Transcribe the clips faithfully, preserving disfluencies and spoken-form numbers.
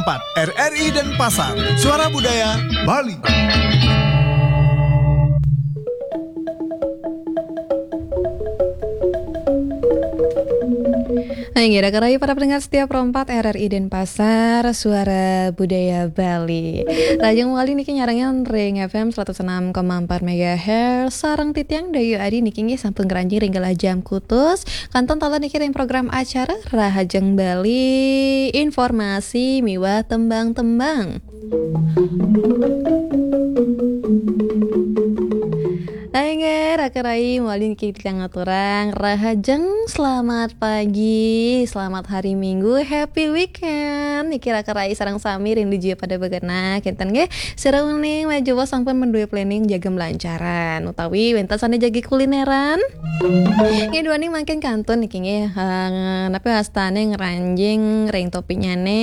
empat, R R I Denpasar, Suara Budaya Bali. Nah, inggih, raka rayi para pendengar setia Pro empat R R I Denpasar, Suara Budaya Bali. Rahajeng malih niki nyarengin ring F M seratus enam koma empat megahertz, sareng titiang Dayu Adi niki inggih sampun ngranjing ring galah jam kutus. Kantun taler niki ring program acara Rahajeng Bali, informasi miwah tembang-tembang. Inggih, raka rayi malih niki titiang ngaturang rahajeng, selamat pagi, selamat hari Minggu, happy weekend. Niki raka rayi sareng sami ring dija pada begenah, kenten nggih. Sira uning majeng sampun menduwe planning jagi melancaran utawi wenten sane jagi kulineran. Nggih, duaning mangkin kantun niki nggih, eh, napi wastane ngranjing ring topiknyane,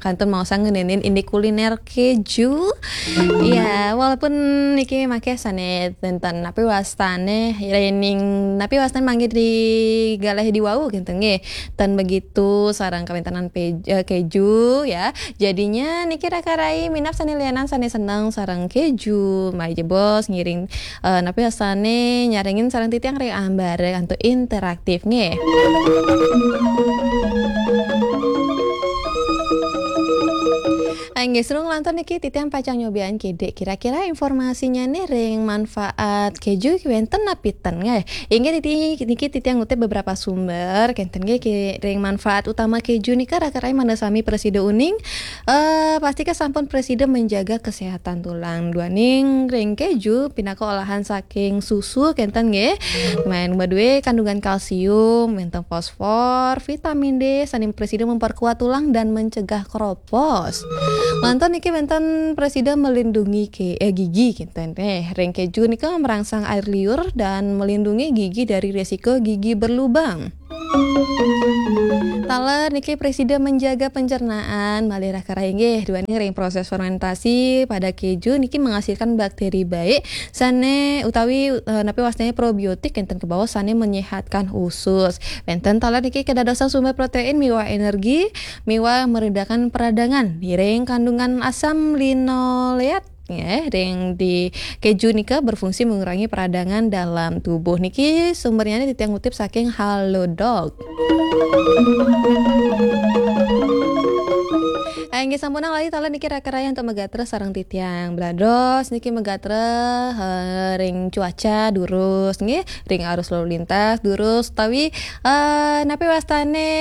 kantun maosang ngenenin indik kuliner keju. Iya, walaupun niki mangke sane wenten napi wastane, yening napi wastane mangke di galah di wau kenten nggih. Ten begitu sareng kawentenan pe-, eh, keju ya. Jadinya niki raka rayi minab sane lianan sane seneng sareng keju, malih jebos ngiring, eh, napi wastane nyarengin sareng titiang ring ambara antuk interaktif nggih. Ah, inggih, sareng lantur niki titiang pacang nyobian kidik kira-kira informasinyane ring manfaat keju ki wenten napi ten nggih. Inggih, titi-, niki titiang ngutip beberapa sumber, kenten nggih, ki-, ring manfaat utama keju nika raka rayi mangda sami prasida uning. Eh, pastika sampun prasida menjaga kesehatan tulang. Duaning ring keju pinaka olahan saking susu, kenten nggih. Main madue kandungan kalsium, wenten fosfor, vitamin D, sane prasida memperkuat tulang dan mencegah keropos. Lantur niki wenten prasida melindungi ke-, eh, gigi, kenten. Eh, ring keju nika merangsang air liur dan melindungi gigi dari resiko gigi berlubang. Taler niki prasida menjaga pencernaan, malih raka rayi nggih, duaning ring proses fermentasi pada keju niki menghasilkan bakteri baik sane utawi, eh, napi wastane probiotik kenten kebaos sane menyehatkan usus. Wenten taler niki kedadosan sumber protein miwah energi, miwah meredakan peradangan. Ngiring kandungan asam linoleat nggih, ring di keju nika berfungsi mengurangi peradangan dalam tubuh. Niki sumbernya titiang ngutip saking Halodoc. Eh, inggih sampunang lali taler niki raka rayi antuk magatra sareng titiang. Belados niki magatra, eh, ring cuaca durus nggih, ring arus lalu lintas durus, utawi, eh, napi wastane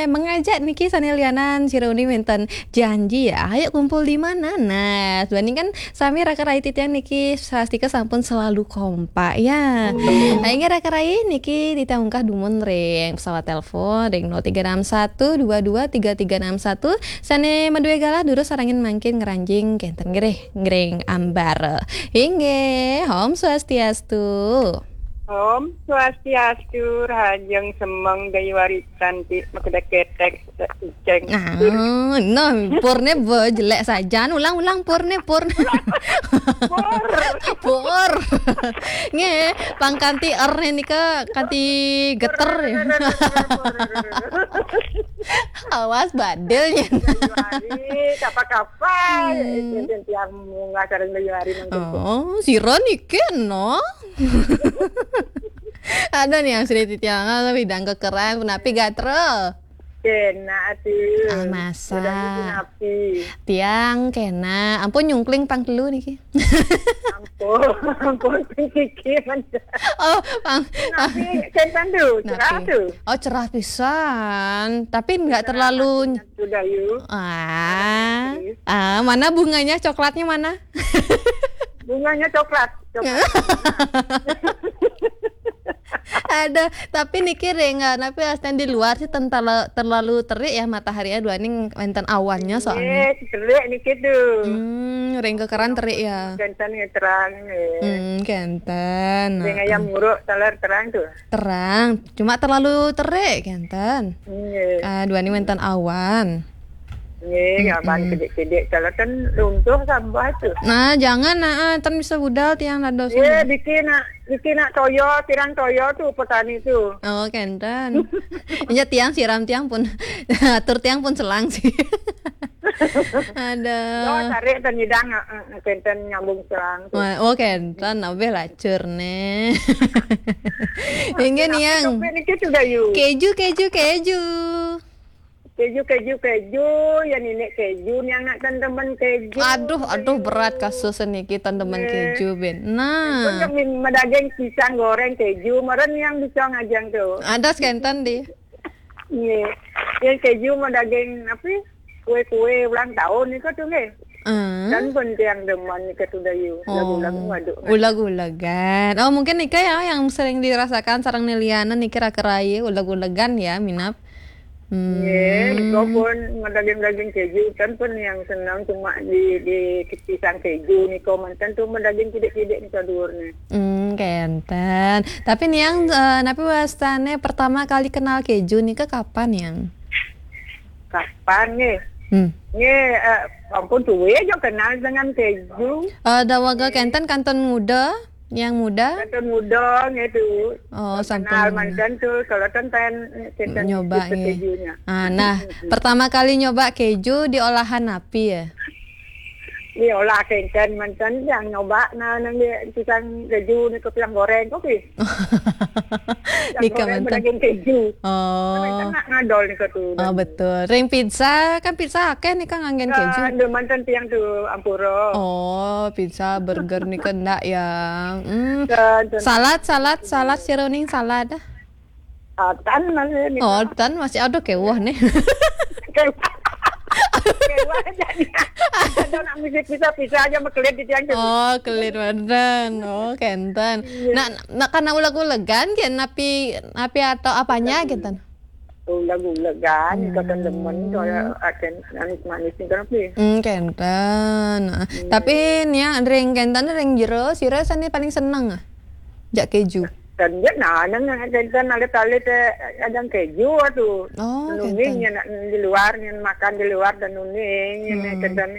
mengajak niki sane lianan sira uning wenten janji ya, ayo kumpul di mana? Nah, duaning kan sami raka rayi titiang niki sastika sampun selalu kompak ya. Nah, inggih raka rayi niki titiang ungkah dumun ring pesawat telepon ring nol tiga enam satu dua dua tiga tiga enam satu. Sane madue galah durus sarengin mangkin ngranjing kenten nggih ring ambara. Inggih, Om Swastiastu. Om Swastiastu, rahajeng semeng Dayu Warisan ti maketek-ketek. Ceng. Ah, no, purne bo jelek sajan. Ulang, ulang, purne, purne. Pur. Pur. Nggih, pang kanti er nika kanti geter ya. Awas badil ya. Hari, kapa-kapa. Hmm. Tiang munggah sareng Dayu Wari mangkin. Oh, sira niki no. Ada nih yang sudah titiang, ah, widang kekeran, punapi gatra? Kena atuh. Ah, masa. Udah niki napi? Tiang kena. Ampun nyungkling pang telu niki. Ampun, ampun niki. Oh, pang. Napi, kenten tuh, cerah tuh. Oh, cerah pisan. Tapi nggak terlalu. Sudah yuk. Ah. Ah, mana bunganya, coklatnya mana? Bunganya coklat. Ada, tapi niki ring, eh, napi astan di luar sih tentala-, terlalu terik ya matahari ya, duaning wenten awannya soalnya. Eh, terik niki tuh. Hmm, ring kekeran terik ya. Kenten ya terang ya. Hmm, kenten. Ring ayam nguruk taler terang tuh. Terang, cuma terlalu terik kenten. Nggih. Ah, duaning wenten awan. Nggih, awan kedik-kedik taler ten runtuh sampah tuh. Nah, jangan, nah, ten bisa budal tiang dados. Nggih, bikin nak, bikin nak toya, kirang toya tuh petani tuh. Oh, kenten. Iya, tiang siram tiang pun, atur tiang pun selang sih. Aduh. Oh, tarik ten nyidang, eh, eh, kenten nyambung serang tu. Wah, oh, kenten, abih lacur nih. Inggih, Niang. Tapi niki sudah yu. Keju, keju, keju. Keju, keju, keju, ya nini keju, Niang nak ten demen keju. Aduh, aduh, berat kasus niki, ten demen keju, Ben. Nah. Pun kami madaging pisang goreng keju, meren Niang bisa ngajang tu. Ada sekenten di. Nggih. Yang keju madaging apa? Kue-kue ulang tahun nika tu nggih. Hmm. Dan pun tiang demen nika tu dayu. Oh. Lagu-lagu ngaduk. Ulag-ulagan. Oh, mungkin nika ya yang sering dirasakan sareng Niliana niki raka-raya ulag-ulagan ya, minab. Hmm. Nggih, nika pun madaging-daging keju, kan pun yang senang cuma di, di pisang keju nika manten tu madaging kidik-kidik nika duurnya. Hmm, kenten. Tapi Niang, eh, napi wastane pertama kali kenal keju nika kapan, Niang? Kapan nggih? Hmm. Nggih, eh, ampun suwe aja kenal dengan keju. Eh, dawaga kenten kantun muda, Niang muda? Kantun muda nggih tu. Oh, sampun muda. Kenal manten tu, kalau ten pen, kenten nyoba nggih. Kejunya. Ah, nah, pertama kali nyoba keju di olahan napi ya? Iya, olah kenten manten yang nyoba nah nang di pisang keju nika pisang goreng kopi. Nika manten. Daging keju. Oh. Kan nak ngadol nika tu. Oh, betul. Ring pizza, kan pizza akeh nika nganggen keju. Kan manten tiang tu ampura. Oh, pizza, burger nika ndak ya. Hmm. Salad, salad, salad, sira uning salad. Ah, tan masih nih. Oh, tan masih, aduh, kewah nih. Kewah. Kewah aja nih. Ada nak musik pisah-pisah aja makelit di tiang tu. Oh, kelit manten. Oh, kenten. Iya. Nah, nah, karena ulag-ulagan, kan, napi, napi atau apanya, kenten? Ulag-ulagan, hmm. Kenten demen, soalnya akan manis-manis nih, kenapa ya? Hmm, kenten. Nah, tapi nih ya, ring kenten, ring jero, sira sane paling seneng, ah? Jak keju. Dan dia nah, nang kenten alit-alit, eh, ada keju tu. Oh, nuning kenten. Nak di luar, yang makan di luar dan nuning, hmm. Kenten.